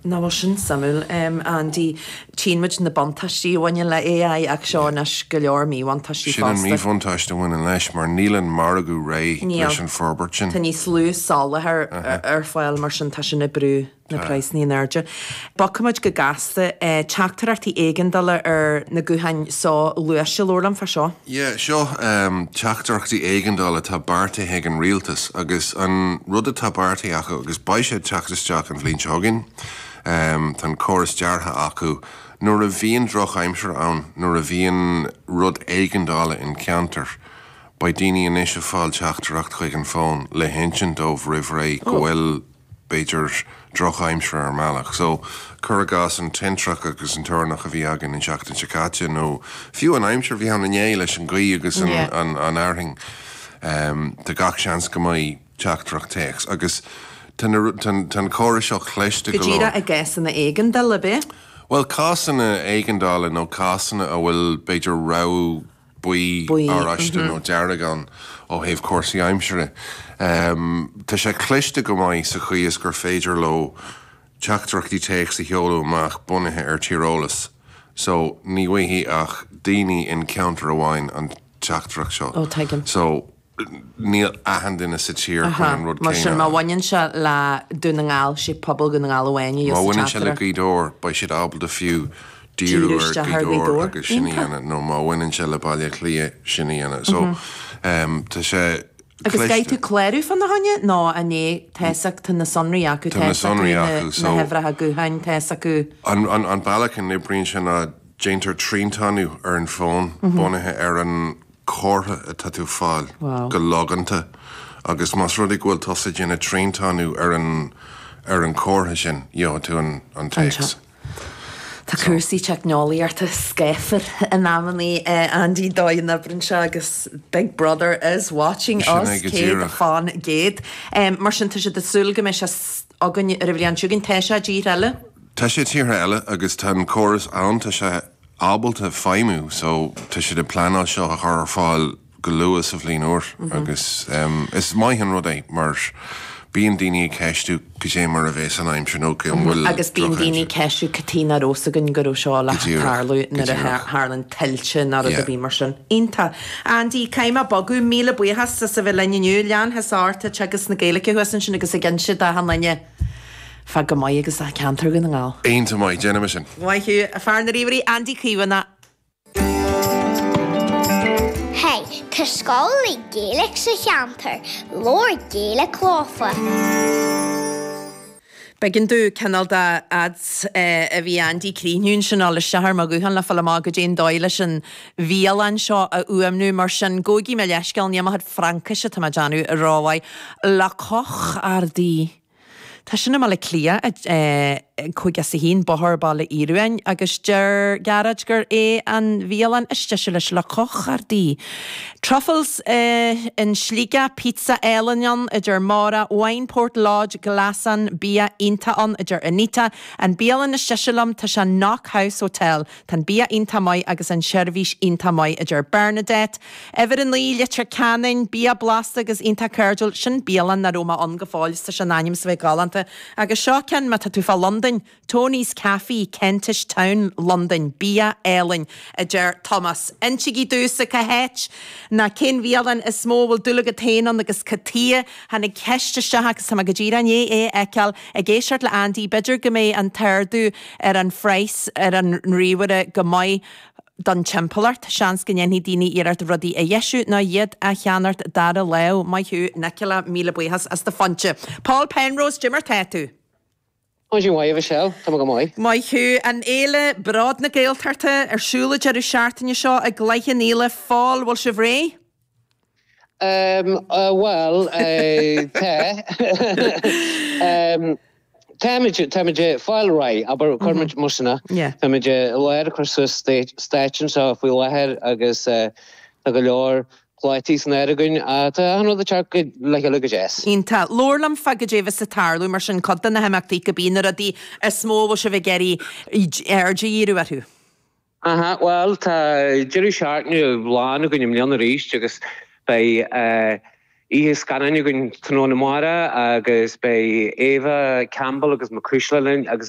Nach bhfuil sin suimiúil, Andy? Tchíonn muid na buntáistí a bhaineann le AI ach seo anois go leor míbhuntáistí Sin an fosta. míbhuntáiste a bhaineann leis mar níl an margadh réidh Níl. leis an forbairt sin. Tá níos lú soláthair ar fáil mar sin tá sin ag brú na praghsanna in airde. Bogfaimid go gasta. Teachtaireachtaí éigeandála ar na gutháin soghluaiste. Labhair liom fá seo. Yeah, seo teachtaireachtaí éigeandála atá beartaithe ag an rialtas agus an rud atá beartaithe acu agus beidh sé ag teacht isteach an bhliain seo chugainn, tá an córas deartha acu, nuair a bhíonn drochaimsir ann, nuair a bhíonn rud éigeandála in ceantar, beidh daoine anois ag fáil teachtaireacht chuig an bhfón le hinsint dóibh roimh ré go bhfuil b'fhéidir drochaimsir ar an mbealach. So, cuir i gcás an tintreach agus an toirneach a bhí againn an tseachtain seo caite nó fiú an aimsir a bhí ann inné leis an ghaoth agus an fhearthainn, tá gach seans go mbeidh teachtaireacht téacs agus tá an córas seo cliste Go go leor. díreach i gcásanna éigeandála, ab ea? Bhuel, cásanna éigeandála nó cásanna a bhfuil b'fhéidir rabhadh buí, Buí, oráiste nó dearg ann ó thaobh cúrsaí aimsire. Tá sé cliste go maith sa chaoi is gur féidir leo teachtaireachtaí téacs a sheoladh amach bunaithe ar tíreolas. So, ní bhfaighidh ach daoine in ceantar amháin an teachtaireacht seo. Ó, tuigim. So, níl achan duine sa tír chun an rud Mar sin, céanna má a. bhaineann sé le Dún na nGall, sé pobal Dhún na nGall amháin a Má gheobhas an bhaineann sé le teachtaireacht. Gaoth Dobhair, beidh siad ábalta fiú díriú Díriú ar isteach Ghaoth ar Ghaoth Dobhair Dobhair. agus sin a Iontach. dhéanamh, nó má bhaineann sé le Baile Átha Cliath, sin a dhéanamh. So, tá sé Agus caithfidh cliste. tú clárú fána choinne nó an é, tá fhios acu, tá na sonraí acu, Tá tá na fhios acu sonraí na acu, na so. huimhreacha gutháin, tá fhios acu. An, an, an bealach a n-oibríonn sé ná déantar triantánú ar an bhfón bunaithe ar an comhartha atá tú ag fáil go logánta agus más rud é go bhfuil tusa ag déanamh triantánú ar an ar an chomhartha sin, gheobhaidh tú an an téacs. Tá cúrsaí teicneolaíochta scáfar in amannaí, Andy, dóigh a n-oibríonn sé agus Big Brother is watching Sin us é go díreach. 100%. Mar sin tá siad ag súil go mbeidh sé againn ar an bhliain seo chugainn. Tá sé i dtíortha eile? Tá sé i dtíortha eile agus tá an córas ann, tá sé ábalta feidhmiú so tá siad ag pleanáil seo a chur ar fáil go luath sa bhliain úr agus is maith an rud é mar bíonn daoine ag ceistiú cad é mar a bheas an aimsir nó an bhfuil Agus bíonn daoine ag drochaimsir. ceistiú cad chuige nach raibh fhios againn go raibh seo le Go díreach, tarlú go nuair a díreach. tharlaíonn tuilte nó rud Yeah. ar bith mar sin. Iontach. Andy, caithfidh mé bogadh, míle buíochas as a bheith linn inniu. Lean thusa ort ag teagasc na Gaeilge thuas ansin agus ag inse d'achan duine fá Go Maith agus fá cheantar Dhún na nGall. Iontach maith, déanfaidh mé sin. Maith thú, fear na ríomhairí, Andy Caomhánach. Hey, tá scoil le Gaeilge sa cheantar, labhair Gaeilge leofa. B'éigean domh cineál de fhad a bhí Andy ag críochnú ansin a fháil isteach ar mo ghuthán le fáil amach goidé an dóigh leis an bhialann seo a fhuaimniú mar sin gabhaigí mo leithscéal níl mo chuid Fraincise atá mé ag déanamh rómhaith. La Cochardie. Tá sin i mBaile Átha Cliath, 51 Bóthar Baile Ioruáin, agus deir Gearóid gur é an bhialann is deise leis La Cochardie. Truffles in Sligeach, pizza álainn ann, a deir Máire, Wineport Lodge, Glasán, bia iontach ann, a deir Anita. An bialann is deise liom, tá sé in Knock House Hotel. Tá an bia iontach maith agus an seirbhís iontach maith, a deir Bernadette. Uimhir 9, Leitir Ceanainn, bia blasta agus iontach cairdiúil. Sin bialann nach raibh mé ann go fóill is tá sé in ainm is a bheith galánta. Agus seo ceann má tá tú fá Londain, Tony's Cafe, Kentish Town, Londain. Bia álainn, a deir Tomás. Insígí domhsa cá háit ná cén bhialann is mó a bhfuil dúil agat féin ann agus cad tuighe. Tháinig ceist isteach agus tá mé go díreach i ndiaidh é a fheiceáil. Ag éisteacht le Andy, b'fhéidir go mbeidh an t-ardú ar an phraghas ar an ríomhaire go maith don timpeallacht. Seans go ndéanfaidh daoine iarracht rudaí a dheisiú ná iad a cheannacht dara lámh. Maith thú, Nicola, míle buíochas as do phointe. Paul Penrose, goidé mar tá tú? Maidin mhaith, a Mhichelle. Tá mé go maith. Maith thú. An Fhéile Bród na Gaeltachta ar siúl an deireadh seachtaine seo i gCloich Cheann Fhaola. Phól, bhfuil sibh réidh? Bhuel, tá. Táimid, táimid ag fáil réidh, abair, cuirfimid mar sin é. Táimid i lár ag cur suas stáitse anseo faoi láthair agus tá go leor plátaí san áireamh againn. Tá achan rud ag teacht le chéile go deas. Iontach. Labhair liom fá goidé a bheas ag tarlú mar sin, cuid de na himeachtaí, cibé na rudaí is mó a bhfuil sibh ag iarraidh aird a dhíriú orthu. Aha, bhuel, tá deireadh seachtaine lán againn i mbliana arís agus beidh oíche scannáin againn tráthnóna amárach agus beidh Eva Campbell agus Mac Cuisle linn agus.